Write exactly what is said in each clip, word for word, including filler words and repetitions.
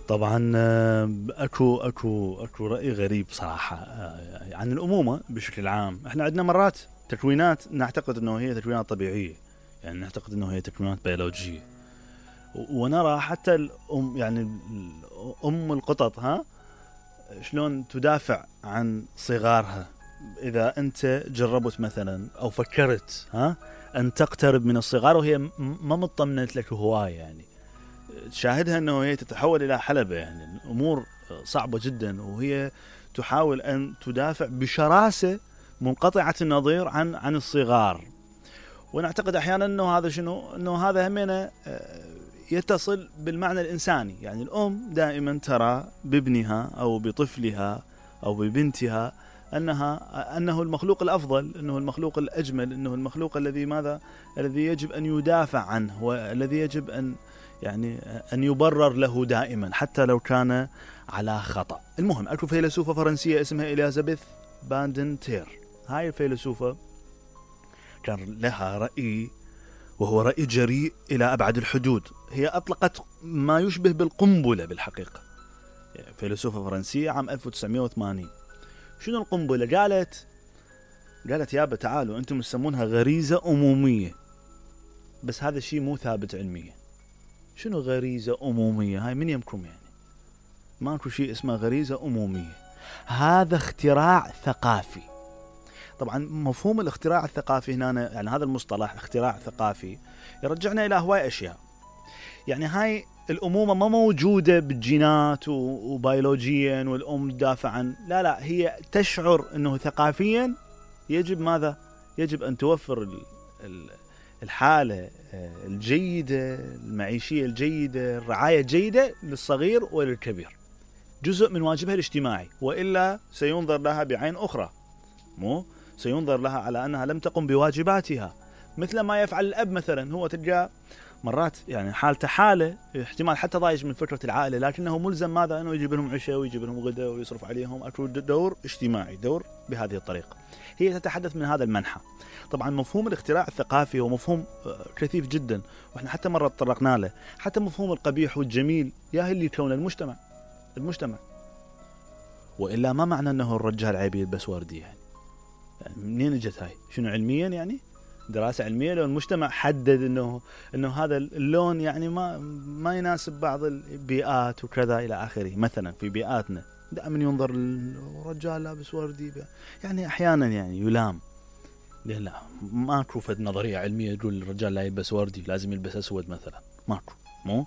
طبعا آه، اكو اكو اكو رأي غريب صراحة آه، عن الأمومة بشكل عام. احنا عندنا مرات تكوينات نعتقد انه هي تكوينات طبيعية، يعني نعتقد انه هي تكوينات بيولوجية، و- ونرى حتى الأم، يعني ال- ام القطط ها شلون تدافع عن صغارها. اذا انت جربت مثلا او فكرت ها ان تقترب من الصغار وهي م- ما مطمنت لك هواية، يعني تشاهدها انه هي تتحول الى حلبة، يعني الامور صعبة جدا، وهي تحاول ان تدافع بشراسة منقطعة النظير عن عن الصغار. ونعتقد احيانا انه هذا شنو، انه هذا همنا آه، يتصل بالمعنى الانساني. يعني الام دائما ترى بابنها او بطفلها او ببنتها انها انه المخلوق الافضل، انه المخلوق الاجمل، انه المخلوق الذي ماذا، الذي يجب ان يدافع عنه، والذي يجب ان يعني ان يبرر له دائما حتى لو كان على خطأ. المهم اكو فيلسوفة فرنسية اسمها إليزابيث باندنتير. هاي الفيلسوفة كان لها رأي، وهو رأي جريء إلى أبعد الحدود. هي أطلقت ما يشبه بالقنبلة بالحقيقة. فيلسوفة فرنسية عام ألف وتسعمائة وثمانين. شنو القنبلة؟ قالت قالت يابا تعالوا أنتم تسمونها غريزة أمومية، بس هذا الشيء مو ثابت علميا. شنو غريزة أمومية؟ هاي من يمكم؟ يعني ماكو شيء اسمه غريزة أمومية، هذا اختراع ثقافي. طبعا مفهوم الاختراع الثقافي هنا، يعني هذا المصطلح اختراع ثقافي يرجعنا إلى هواي أشياء. يعني هاي الأمومة ما موجودة بالجينات وبيولوجيا والأم تدافع عن، لا لا، هي تشعر أنه ثقافيا يجب ماذا؟ يجب أن توفر ال- ال- الحالة الجيدة، المعيشية الجيدة، الرعاية الجيدة للصغير وللكبير، جزء من واجبها الاجتماعي، وإلا سينظر لها بعين أخرى، مو سينظر لها على أنها لم تقم بواجباتها. مثل ما يفعل الأب مثلا، هو تلقى مرات يعني حالته حالة احتمال حتى ضايج من فكرة العائلة، لكنه ملزم ماذا؟ أنه يجيب لهم عشاء ويجيب لهم غداء ويصرف عليهم. أكو دور اجتماعي، دور بهذه الطريقة. هي تتحدث من هذا المنحى. طبعا مفهوم الاختراع الثقافي هو مفهوم كثيف جدا، وإحنا حتى مرة تطرقنا له. حتى مفهوم القبيح والجميل يا اللي يكون المجتمع المجتمع وإلا ما معنى أنه الرجال عيب يلبس وردي؟ يعني يعني منين اجت هاي؟ شنو علميا؟ يعني دراسة علمية لو المجتمع حدد انه انه هذا اللون يعني ما ما يناسب بعض البيئات وكذا الى اخره. مثلا في بيئاتنا دائما ينظر الرجال لابس وردي، يعني احيانا يعني يلام. لا ماكو فد نظرية علمية تقول الرجال لا يلبس وردي لازم يلبس اسود مثلا، ماكو. مو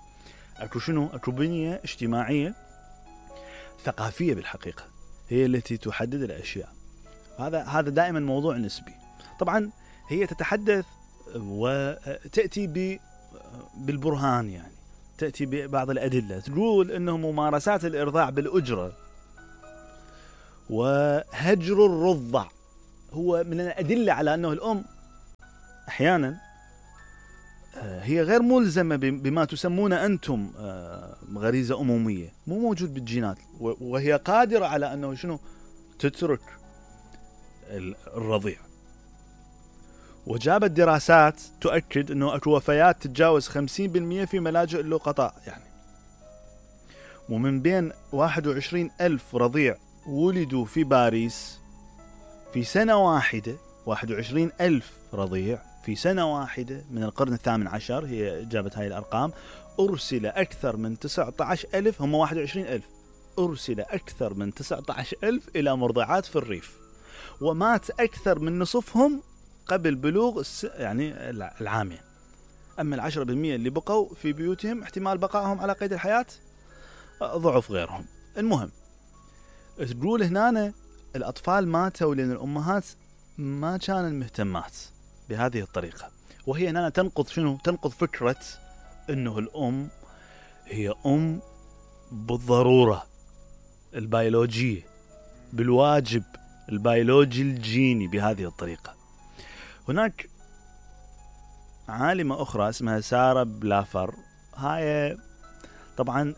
اكو شنو؟ اكو بنية اجتماعية ثقافية بالحقيقة هي التي تحدد الاشياء. هذا هذا دائما موضوع نسبي. طبعا هي تتحدث وتأتي ب بالبرهان، يعني تأتي ببعض الأدلة، تقول أنه ممارسات الإرضاع بالأجرة وهجر الرضع هو من الأدلة على أنه الأم أحيانا هي غير ملزمة بما تسمون أنتم غريزة أمومية، مو موجود بالجينات، وهي قادرة على أنه شنو؟ تترك الرضيع. وجابت دراسات تؤكد أنه أكو وفيات تتجاوز خمسين بالمئة في ملاجئ اللقطاء، يعني ومن بين واحد وعشرين ألف رضيع ولدوا في باريس في سنة واحدة، واحد وعشرين ألف رضيع في سنة واحدة من القرن الثامن عشر، هي جابت هاي الأرقام، أرسل أكثر من تسعة عشر ألف، هم واحد وعشرين ألف، أرسل أكثر من تسعة عشر ألف إلى مرضعات في الريف، ومات أكثر من نصفهم قبل بلوغ يعني العامين. أما العشرة بالمئة اللي بقوا في بيوتهم احتمال بقائهم على قيد الحياة ضعف غيرهم. المهم تقول هنا الأطفال ماتوا لأن الأمهات ما كانوا مهتمات بهذه الطريقة. وهي هنا تنقض شنو؟ تنقض فكرة أنه الأم هي أم بالضرورة البيولوجية، بالواجب البيولوجي الجيني بهذه الطريقة. هناك عالمة أخرى اسمها سارة بلافر، هاي طبعا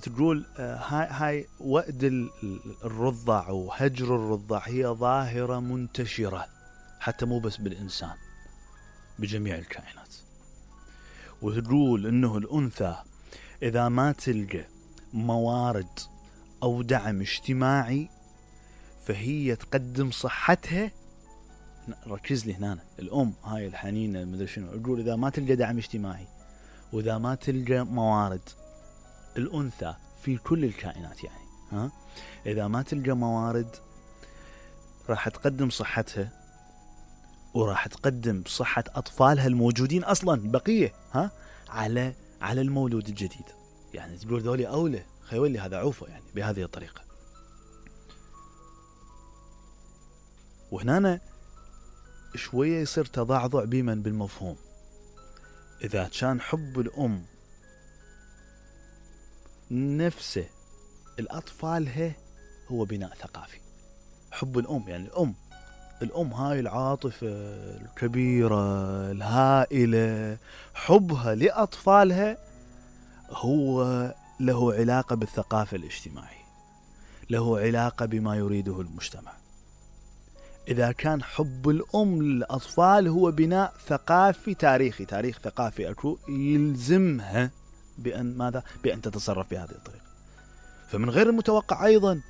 تقول هاي, هاي وأد الرضع وهجر الرضع هي ظاهرة منتشرة حتى مو بس بالإنسان، بجميع الكائنات. وتقول إنه الأنثى إذا ما تلقى موارد أو دعم اجتماعي فهي تقدم صحتها. ركز لي هنا، الأم هاي الحنينة المدري شنو، أقول إذا ما تلقى دعم اجتماعي وإذا ما تلقى موارد، الأنثى في كل الكائنات يعني ها، إذا ما تلقى موارد راح تقدم صحتها وراح تقدم صحة أطفالها الموجودين أصلا بقية ها على على المولود الجديد. يعني تقول ذولي أولى خيولي هذا عوفه يعني بهذه الطريقة. وهنا شوية يصير تضعضع بمن بالمفهوم. إذا كان حب الأم نفسه الأطفالها هو بناء ثقافي، حب الأم يعني الأم الأم هاي العاطفة الكبيرة الهائلة، حبها لأطفالها هو له علاقة بالثقافة الاجتماعية، له علاقة بما يريده المجتمع. إذا كان حب الأم للأطفال هو بناء ثقافي تاريخي، تاريخ ثقافي أكو يلزمها بأن ماذا؟ بأن تتصرف بهذه الطريقة. فمن غير المتوقع أيضا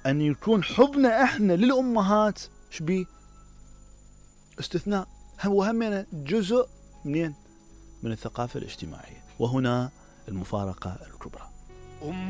أن يكون حبنا إحنا للأمهات شبيه استثناء، هو همنا جزء منين؟ من الثقافة الاجتماعية. وهنا المفارقة الكبرى.